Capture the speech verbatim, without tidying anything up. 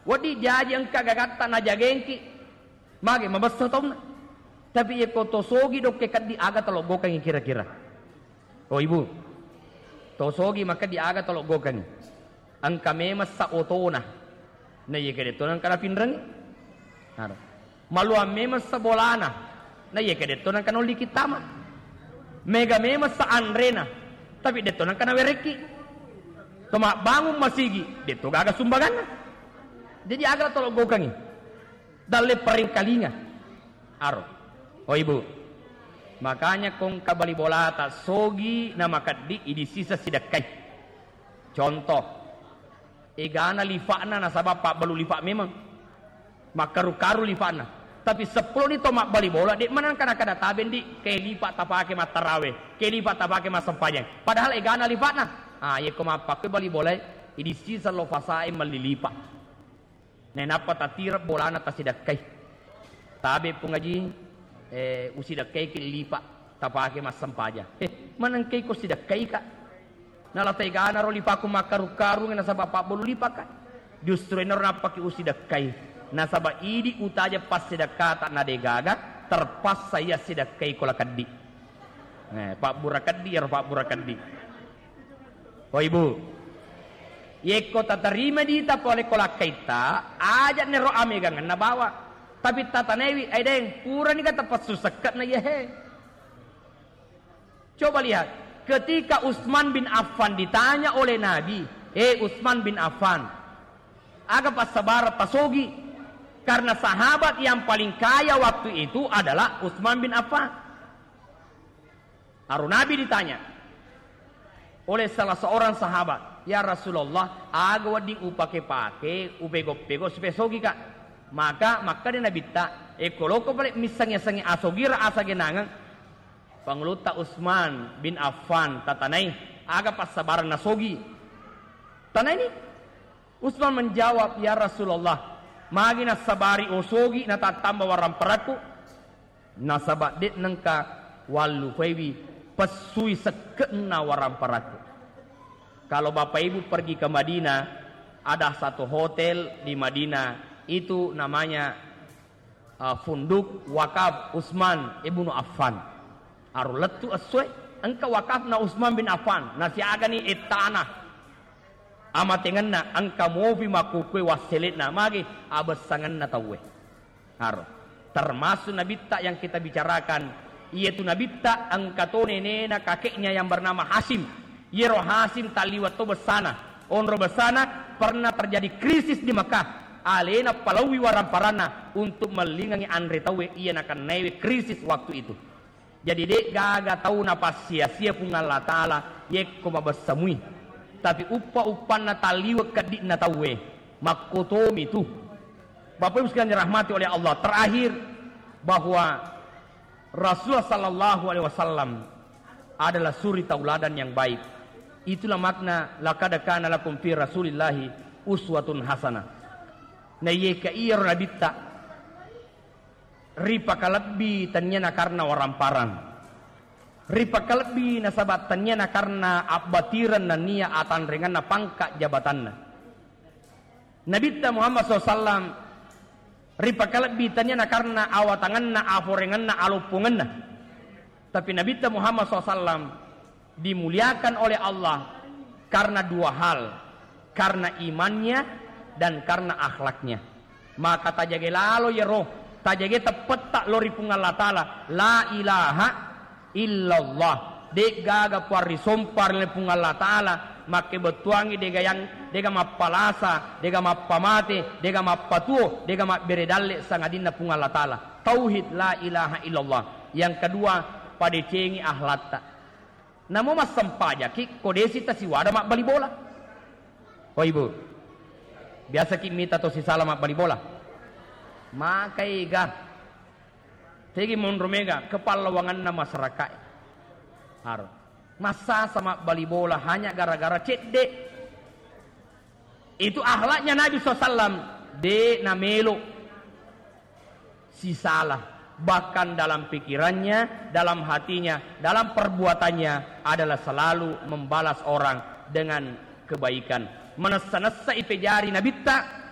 Wedding jaji engka gagatta najagengki, mage mabessa taunna. Tapi yekko to sogi dokke keddi, aga taloggokangi kira-kira? Oh, Ibu, to sogi makeddi aga taloggokangi? Engka memessa otona, na iyeke detto nengka napinrengi. Aro. Maluang memessa bolana, na iyeke detto nengka nolli kittama. Mega memessa anrena, tapi detto nengka nawerekki. To mabbangung masigi, detto gaga sumbanganna. Jadi aga taloggokangi? Dalle paringkalinga. Aro. Oh, Ibu. Makanya kongka bali bolata sogi na makeddi idi sisa sidekkai. Contoh, egana lifa'na nasaba pabbalu lifa' memang. Makkaru-karu lifa'na. Tapi seppulo ni to mabbali bola, de' maneng kana-kana tabe ndi, ke lifa' tapake mattarawe, ke lifa' tapake massempajang. Padahal egana lifa'na. Ah, yekko mappakkoi bali bola, idi sisa lo fasae melli lifa'. Nainappa tatireng bolana tasidekkai. Tabe Pung Aji, eh, usidekkaiki lifa', tapake massempajang. Eh, manengkai ko sidekkaika? Nala taigana ro lifaku makkaru-karungngi nasaba pabbalu lifaka. Justru enaro nappaki usidekkai. Nasaba idi utaja passidekkata na degaga, terpaksa iya sidekkai ko lakeddi. Eh, pabbura keddi, iyaro pabbura keddi. Oh, Ibu. Yekko tatarima dita pole ko lakkaitta, aja nero amegangenna bawa. Tapi tatanaiwi, "Ai Deng, purani ga tapassu sekke'na iyahe." Coba lihat, ketika Utsman bin Affan ditanya oleh Nabi, "Eh, Utsman bin Affan, aga passabarang tasogi?" Karena sahabat yang paling kaya waktu itu adalah Utsman bin Affan. Aro Nabi ditanya oleh salah seorang sahabat, "Ya Rasulullah, aga wedding upake-pake, upego-pego supaya sogi, Kak?" Maka makkeda Nabitta, "Ekko loko pale missengnge-sengnge asogira asagenangeng, Pangulutta Utsman bin Affan tatanai, aga passabarang nasogi?" Tanaini. Utsman menjawab, "Ya Rasulullah, magi nassabari osogi natattamba waramparakku?" Nasaba de' nengka wallupaiwi pessui sekke'na waramparakku. Kalau Bapak Ibu pergi ke Madinah, ada satu hotel di Madinah, itu namanya, uh, Funduk Wakaf Utsman Ibnu Affan. Aro lettu essoe, engka wakafna Utsman bin Affan, nasiagani ettana. Amatengenna engka mopi makkukue wassele'na, magi abessangenna tauwe. Aro. Termasuk Nabitta yang kita bicarakan, iyatu Nabitta engka to nenena kakeknya yang bernama Hasyim. Iyaro Hasyim talliweng to bessana. Onro bessana pernah terjadi krisis di Mekah. Alena palauwi waramparanna untuk mellingengi anre tauwe iya nakennaiwe krisis waktu itu. Jadi, de' gaga tau napassia-sia Puang Allah Ta'ala yekko mabessa mui. Tapi uppa-uppanna talliwe' keddi'na tauwe, makkotomi tu. Bapak Ibu sekalian dirahmati oleh Allah, terakhir, bahwa Rasulullah sallallahu alaihi wasallam adalah suri tauladan yang baik. Itulah makna, "Laqad kana lakum fi Rasulillahi uswatun hasanah." Naiyeka iyaro Nabitta ripakalebbi tenniana karena waramparang. Ripakalebbi nasaba tenniana karena abbatireng nennia atanrengenna pangka jabatanna. Nabitta Muhammad sallallahu alaihi wasallam ripakalebbi tenniana karena awatangenna, aforengenna, aloppongenna. Tapi Nabitta Muhammad sallallahu alaihi wasallam dimuliakan oleh Allah karena dua hal, karena imannya dan karena akhlaknya. Maka tajage lalo yero, tajage teppetta lo ri Puang Allah Ta'ala, la ilaha illallah. De' gaga puang risompa ri Puang Allah Ta'ala, makkebettuangi dega yang, dega mappalasa, dega mappamate, dega mappatuo, dega mabbere dalle sangadinna Puang Allah Ta'ala. Tauhid la ilaha illallah. Yang kedua, padecengi akhlatta. Namo massempajaki ko desi tasiwada mabbali bola. Oh, Ibu, biasaki mita to sisala mabbali bola? Maka ega. Tegi monro mega kepallawanganna masyarakat. Aro. Massasa mabbali bola hanya gara-gara cedde. Itu akhlaknya Nabi sallallahu alaihi wasallam. De' namelo sisala. Bahkan dalam pikirannya, dalam hatinya, dalam perbuatannya adalah selalu membalas orang dengan kebaikan. Manessa-nessa ipejari Nabitta,